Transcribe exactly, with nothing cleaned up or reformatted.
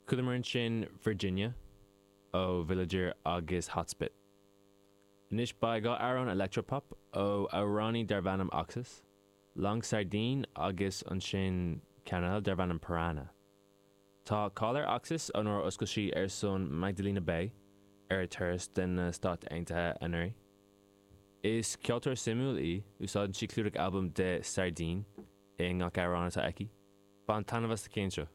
Chualamar ansin Virginia ó Villager agus Hotspit. Anois beidh dhá amhrán electropop ó amhránaí darb ainm Oxus, Long Sardine agus ansin ceann eile darb ainm Piranha. Tá cáil ar Oxus ó nuair a oscail sí ar son Magdalena Bay ar a turas de na Stáit Aontaithe anuraidh. Is ceoltóir suimiúil í, úsáideann sí clúdach albam de Sardine i ngach amhrán atá aici. Bain taitneamh as na cinn seo.